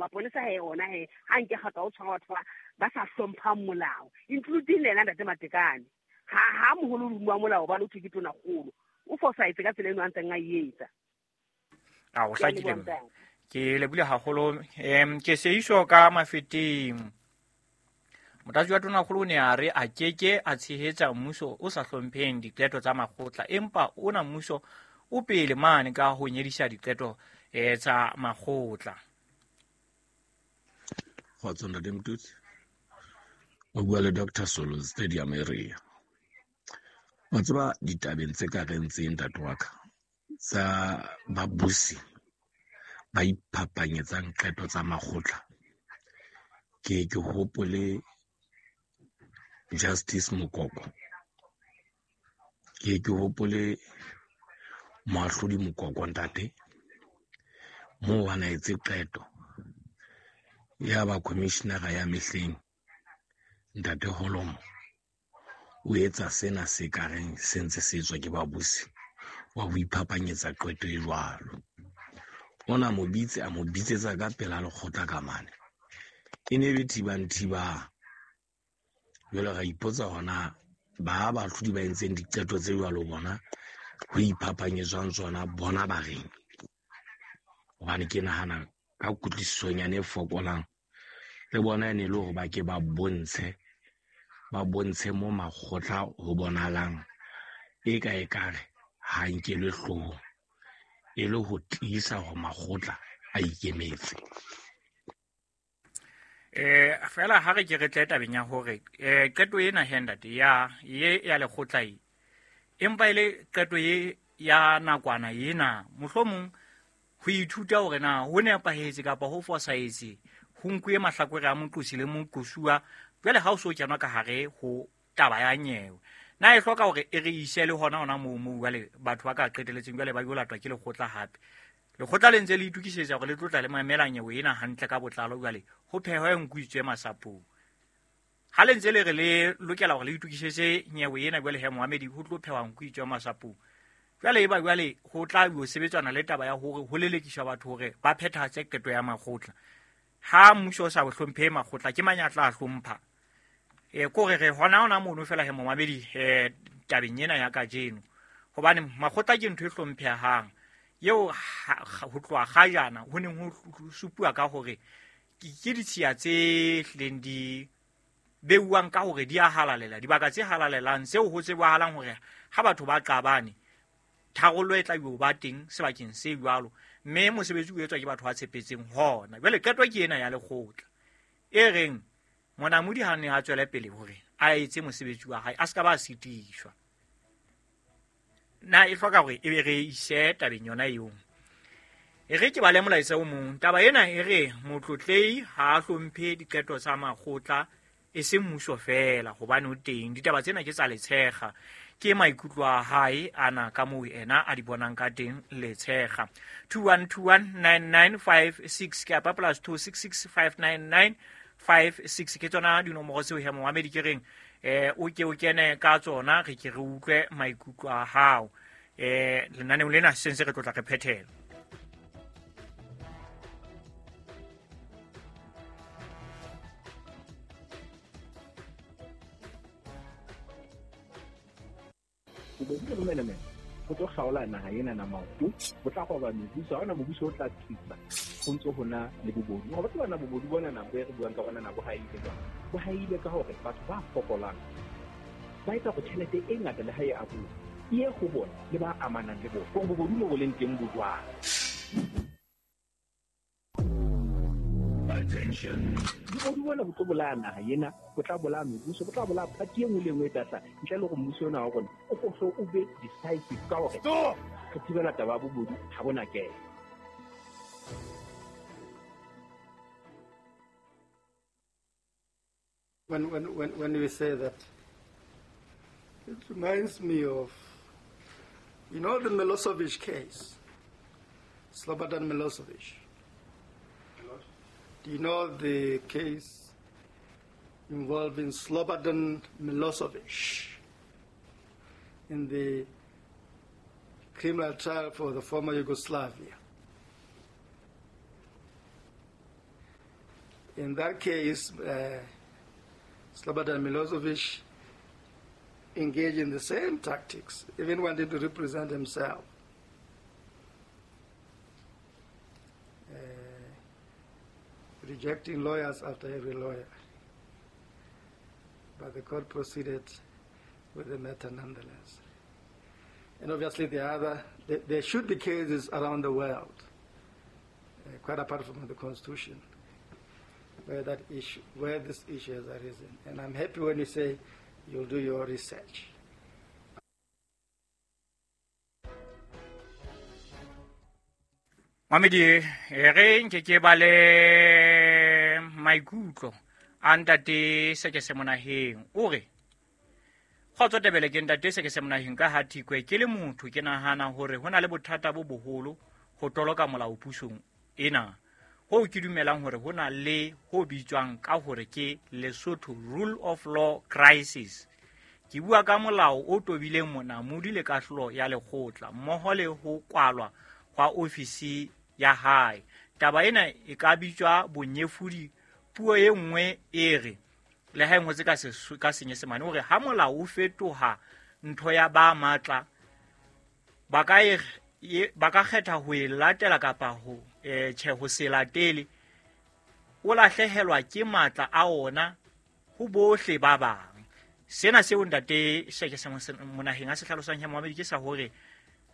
Maponesa he ona he ha nke kgato o tshwara batho ba sa hlomphang molao, including le yena ntate Matekane. Ha moholo o wa molao ba lotho ke tona kgolo. O fosahetse ka tsela eno a ntseng a e etsa. A o hlakile ke lebile haholo. Ke seiso ka Mafeteng. Motlatsi wa tonakgolo o ne a re a keke a tshehetsa mmuso o sa hlompheng diqeto tsa makgotla, empa ona mmuso o pele mane ka ho nyedisa diqeto tsa makgotla. Kgotso ntate Mtutsi, o bua le Dr. Solo Stadium area. Wa tseba ditabeng tse ka reng tse ntate wa ka tsa babusi ba iphapanyetsang qeto tsa makgotla, ke ke hopole Justice Mokoko, ke ke hopole moahlodi Mokoko ntate, moo a na etse qeto ya ba commissioner ya mehleng ntate Holomo o etsa sena se ka reng se ntse se etswa ke babusi wa ho iphapanyetsa qeto e jwalo. Ona mo bitse a mo bitsetsa ka pela lekgotla ka mane, e ne be thibang thibang. Jwale ra ipotsa hona ba bahlodi ba entseng diqeto tse jwalo bona ho iphapanyetswang tsona bona ba reng, hobane ke nahana ka kutlwisisonyane e fokolang le bona e ne le hore ba ke ba bontshe mo makgotla ho bonahalang e ka ekare ha nkelwe hloohong, e le ho tiisa hore makgotla a ikemetse. Fela ha re ke re tle tabeng ya hore qeto ena he ntate ya ye ya lekgotla e, empa e le qeto ye ya nakwana ena, mohlomong ho ithuta hore na ho nepahetse kapa ho fosahetse, ho nkuwe mahlakore a moqosi le moqosuwa. Jwale ha o so kenwa ka hare ho taba ya nyewe, na e hloka hore e re ise le hona hona moo moo jwale batho ba ka qeteletseng jwale ba yo latwa ke lekgotla hape. Lekgotla le ntse le itokisetsa hore le tlotla le mamela nyewe ena hantle ka botlalo, jwale ho phehwe nku itswe masapong. Ha le ntse le re le lokela hore le itokisetse nyewe ena jwale he moamedi ho tlo phehwa nku itswe masapong. Jwale eba jwale ho tla yo sebetsana le taba ya hore ho lelekiswa batho hore ba phethahatse qeto ya makgotla. Ha mmuso o sa hlomphe makgotla, ke mang ya tla hlompha? Ko re re hona hona mono fela he momamedi tabeng ena ya kajeno, hobane makgotla ke ntho e hlomphehang eo ho tloha kgajana ho neng ho supuwa ka hore ke ditshiya tse hlileng di beuwang ka hore di a halalela, dibaka tse halalelang tseo ho tsebahalang hore ha batho ba qabane tharollo e tla yo ba teng sebakeng se jwalo, mme mosebetsi o etswa ke batho ba tshepetseng hona. Jwale qeto ke ena ya lekgotla e reng monamodi ha ne a tswele pele hore a etse mosebetsi wa hae, a se ka ba sitiswa. Na e hloka hore e be re ise tabeng yona eo? E re ke bale molaetsa o mong. Taba ena e re motlotlei ha a hlomphe diqeto tsa makgotla, e seng mmuso fela, hobane o teng. Ditaba tsena ke tsa Letshega, ke maikutlo a hae ana ka moo ena a di bonang ka teng Letshega. 21219956 ke apa plus 26659956 ke tsona dinomoro tseo he momamedi ke reng o ke o kene ka tsona, re ke re utlwe maikutlo a hao. Lenaneong lena se ntse re tlotla re phethela. Bobodu le bomenemene ho tlo kgaola naha ena na maoto, ho tla roba mebuso, ha hona mobuso o tla tsitsa ho ntso ho na le bobodu. Hore batho bana bobodu bona nako e re buang ka bona nako ha e ile jwang, bo ha ile ka hore batho ba fokolang ba etsa hore tjhelete e ngata le ha e abuwa e ye ho bona le ba amanang le bona, hore bobodu mo bo leng teng bo jwang. Bobodu bona bo tlo bolaya naha ena, bo tla bolaya mebuso, bo tla bolaya party e nngwe le e nngwe e tla hlaha, ntle le hore mmuso ona wa rona o ko hlo o be decisive ka hore re thibela taba ya bobodu ha bona kena. When we say that, it reminds me of, you know, the Milosevic case, Slobodan Milosevic. Do you know the case involving Slobodan Milosevic in the criminal trial for the former Yugoslavia? In that case, Slobodan Milosevic engaged in the same tactics, even wanted to represent himself. Rejecting lawyers after every lawyer. But the court proceeded with the matter nonetheless. And obviously there should be cases around the world, quite apart from the Constitution, where this issue has arisen. And I'm happy when you say you'll do your research. Mamedi, re nke ke ba le maikutlo a ntate Sekese Monaheng. O re kgotso Tebele, ke ntate Sekese Monaheng ka ha Thikwe. Ke le motho ke nahana hore ho na le bothata bo boholo ho toloka molao pusong ena. Ho ke dumelang hore ho na le ho bitswang ka hore ke Lesotho Rule of Law Crisis. Ke bua ka molao o tobileng monamodi le kahlolo ya lekgotla mmoho le ho kwalwa hwa ofisi ya hae. Taba ena e ka bitswa bonyefodi. Puo e nngwe e re le ha e ngotse ka Senyesemane, hore ha molao o fetoha ntho ya ba matla, ba ka kgetha ho e latela kapa ho tjhe ho se latele, o lahlehelwa ke matla a ona ho bohle ba bang. Sena seo ntate Sekese Monaheng a se hlalosang ya Mohamedi ke sa hore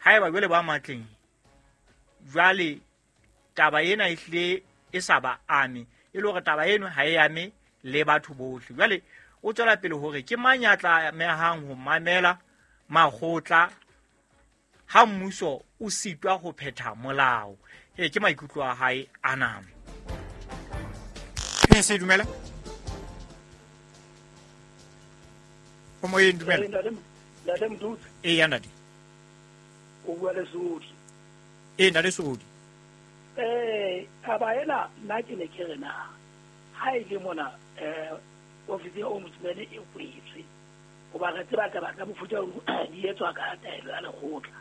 haeba jwale ba matleng, jwale taba ena e hlile e sa ba ame, e le hore taba eno ha e ame le batho bohle. Jwale o tswela pele hore ke mang ya tlamehang ho mamela makgotla ha mmuso o sitwa ho phetha molao. Ke maikutlo a hae ana. Se dumela. O moyeng, dumela. Ntate Mdutsi. Eya ntate. O bua le Sodi. Ee ntate Sodi. Taba ena nna ke ne ke re na ha e le mona ofisi ya ombudsman e kwetswe, hoba re tseba taba tsa mofuta ono di etswa ka taelo ya lekgotla.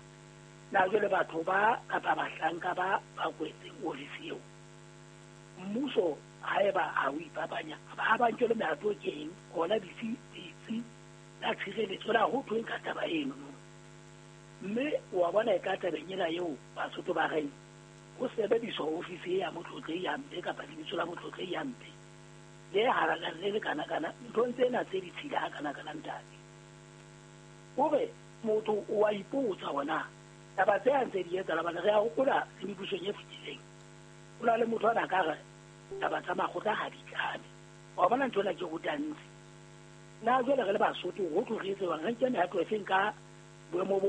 Na jwale batho ba kapa bahlanka ba ba kwetseng ofisi eo, mmuso haeba ha o ipapanya, ha ba nkele mehato keng hona ditsi tsa tshireletso la ho thweng ka taba eno. Mme wa bona e ka tabeng ena eo Basotho ba reng ho sebediswa ofisi ya motlotlehi hampe kapa lebitso la motlotlehi hampe le halalang le le kana-kana nthong tsena tse ditshila ha kana-kana ntate. Hore motho o a ipotsa hona taba tse a ntse di etsahala, hobane re a hopola le mebusong e fetileng ho na le motho a na ka re taba tsa makgotla ha di tlame. Wa bona ntho ena ke rutantse. Na jwale re le Basotho ho tlo re etse jwang? Re nke mehato e feng ka boemo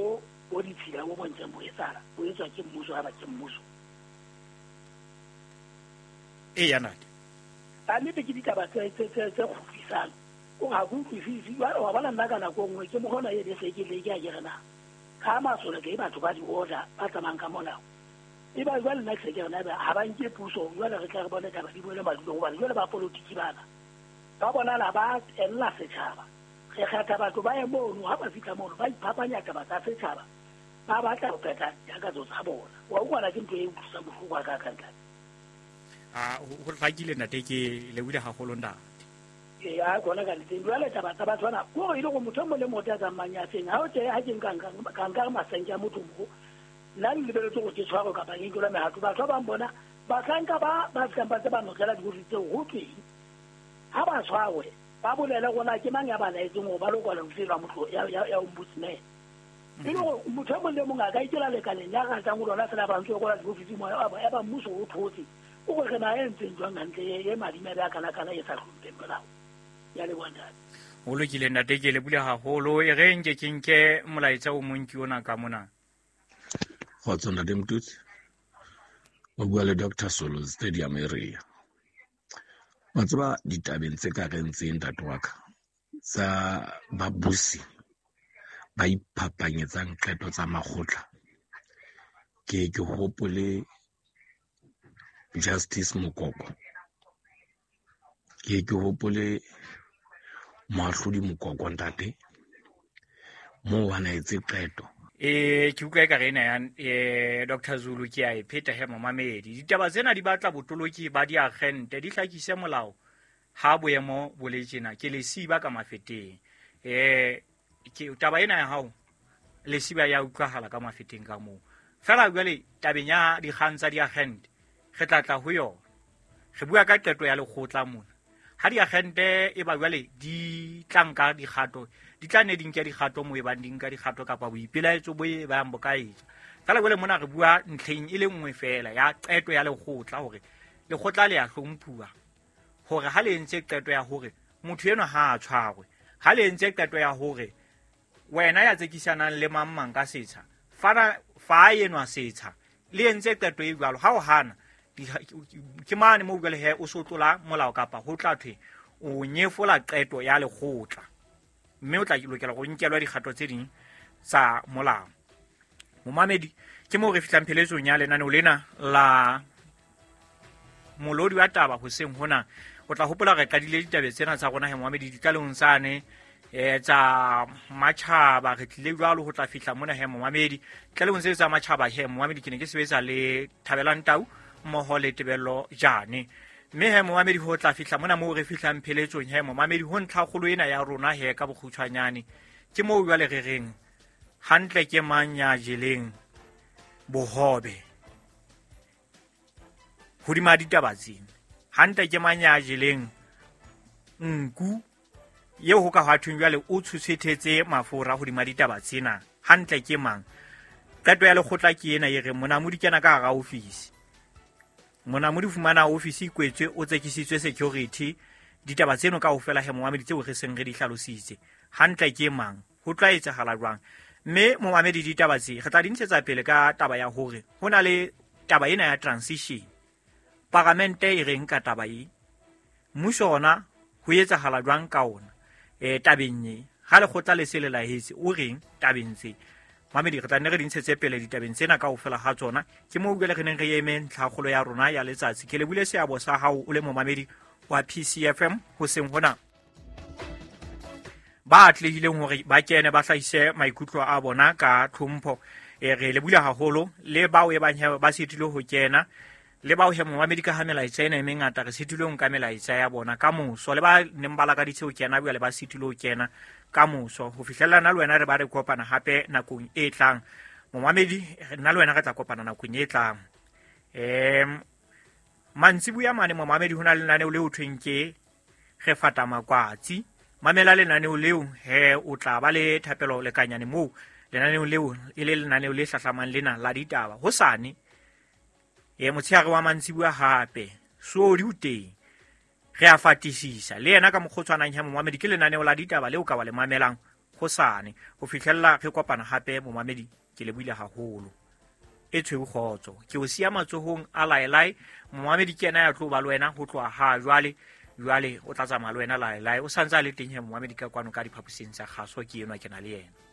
bo ditshila bo bontseng bo etsahala, bo etswa ke mmuso ha ba ke mmuso. Eya ntate. Ka nnete ke ditaba tse kgutlisang. O ha ke utlwisise. Jwale wa bona nna ka nako e nngwe ke mokgona e be se ke leke a ke re na ka masole ke batho ba di-order ba tsamayang ka molao. Eba jwale nna ke se ke re na ebe ha ba nke puso, jwale re tla re bone taba di boele madulong, hobane jwale ba politiki bana ba bonala ba ella setjhaba. Re kgetha batho ba ye mono, ha ba fihla mono ba iphapanya taba tsa setjhaba, ba batla ho phetha ditakatso tsa bona. Wa utlwana ke ntho e utlwisang bohloko ha ka ntate. Ho hlakile ntate, ke lebohile haholo ntate. Eya kona ka nnete. Jwale taba tsa batho bana ko e le gore motho e mong le motho ya tsamayang ya feng ha o tje ha ke nka nka masenke a motho mo nna le lebeletse gore ke tshwarwe kapa ke nkelwe mehato. Batho ba bang bona bahlanka ba fihlang ba ntse ba notlela diofisi tseo ho tweng ha ba tshwarwe ba bolele gona ke mang ya ba laetseng gore ba lo kwala ofisi ya motho ya ombudsman. E le gore motho e mong le mong a ka ikela lekaleng ya ratang go lona fela ba ntse kwala diofisi mo ya ba mmuso o thotse o gore re na e ntseng jwang hantle e madimabe a kana-kana e sa hlompheng molao. Ya leboha ntate. Ho lokile ntate, ke lebohile haholo. E re nke ke nke molaetsa o mong ke ona ka mona. Kgotso ntate Mtutsi. O bua le Dr. Solo Stadium area. Wa tseba ditabeng tse ka reng tse ntate wa ka tsa babusi ba iphapanyetsang qeto tsa makgotla, ke hopole Justice Mokoko, ke hopole moahlodi Mokoko ntate, moo a na etse qeto Ke utlwa ekare ena ya Dr. Zulu ke a e pheta he momamedi. Ditaba tsena di batla botoloki ba diagente di hlakise molao ha boemo bo le tjena ke lesiba ka mafeteng. Ke taba ena ya hao lesiba ya utlwahala ka mafeteng ka moo. Fela jwale tabeng ya dikgang tsa diagente re tla tla ho yona. Re bua ka qeto ya lekgotla mona. Ha diagente e ba jwale di tla nka dikgato, di tla ne di nke dikgato mo e bang di nka dikgato kapa boipelaetso bo e bang bo ka etswa. Fela jwale mona re bua ntlheng e le nngwe fela ya qeto ya lekgotla hore lekgotla le ya hlomphuwa hore ha le entse qeto ya hore motho enwa ha a tshwarwe, ha le entse qeto ya hore wena ya tsekisanang le mang mang ka setsha, fana fa enwa setsha, le entse qeto e jwalo, ha o hana ke mane mo jwale he o sotlola molao kapa ho tla thwe o nyefola qeto ya lekgotla, mme o tla lokela go nkelwa dikgato tse ding tsa molao. Momamedi, ke moo re fihlang pheletsong ya lenaneo lena la molodi wa taba hoseng hona. O tla hopola re qadile ditaba tsena tsa rona he momamedi ditlalehong tsane tsa matjhaba, re tlile jwalo ho tla fihla mona he momamedi. Tlalehong tse tsa matjhaba he momamedi ke ne ke sebetsa le Thabelang Tau mmoho le Tebello Jane. Mme he momamedi ho tla fihla mona moo re fihlang pheletsong he momamedi ho ntlhakgolo ena ya rona he ka bokgutshwanyane. Ke moo jwale re reng hantle ke mang ya jeleng bohobe hodima ditaba tsena, hantle ke mang ya jeleng nku eo ho ka hwa thweng jwale o tshosethetse mafura hodima ditaba tsena, hantle ke mang. Qeto ya lekgotla ke ena e reng monamodi kena ka hara ofisi, monamodi fumana ofisi e kwetswe, o tsekisitswe security. Ditaba tseno kaofela he momamedi tseo re seng re di hlalositse, hantle ke mang, ho tla etsahala jwang. Mme momamedi ditaba tse re tla di ntshetsa pele ka taba ya hore ho na le taba ena ya transition, paramente e reng ka taba e, mmuso ona ho etsahala jwang ka ona tabeng e, ha lekgotla le se le lahetse o reng tabeng tse. Mamedi re tla nne re di ntshetse pele ditabeng tsena kaofela ha tsona. Ke moo jwale re neng re eme ntlhakgolo ya rona ya letsatsi. Ke lebule seabo sa hao o le momamedi wa PCFM hoseng hona. Ba atlehileng hore ba kene ba hlahise maikutlo a bona ka tlhompho. Re lebule haholo le bao e bang ba sitilwe ho kena, le bao he momamedi ka ha melaetsa ena e mengata re sitilwe ho nka melaetsa ya bona ka moso, le ba neng ba lakaditse ho kena jwale ba sitilwe ho kena ka moso. Ho fihlella nna le wena re ba re kopana hape nakong e tlang. Momamedi, nna le wena re tla kopana nakong e tlang. Mantsibuya mane momamedi ho na le lenaneo leo thweng ke re fata makwatsi. Mamela lenaneo leo he o tla ba le thapelo lekanyane moo lenaneo leo e le lenaneo le hlahlamang lena la ditaba hosane. Motshehare wa mantsibuya hape sodi o teng, re a fatisisa le yena ka mokgotshwanang he momamedi. Ke lenaneo la ditaba leo ka wa le mamelang hosane. Ho fihlella re kopana hape momamedi, ke le buile haholo. E tshweu kgotso, ke o siya matsohong a laelae. Momamedi ke yena ya tlo ba le wena ho tloha ha jwale. Jwale o tla tsamaya le wena laelae, o santse a le teng he momamedi ka kwano ka diphaposing tsa kgaso, ke enwa ke na le yena.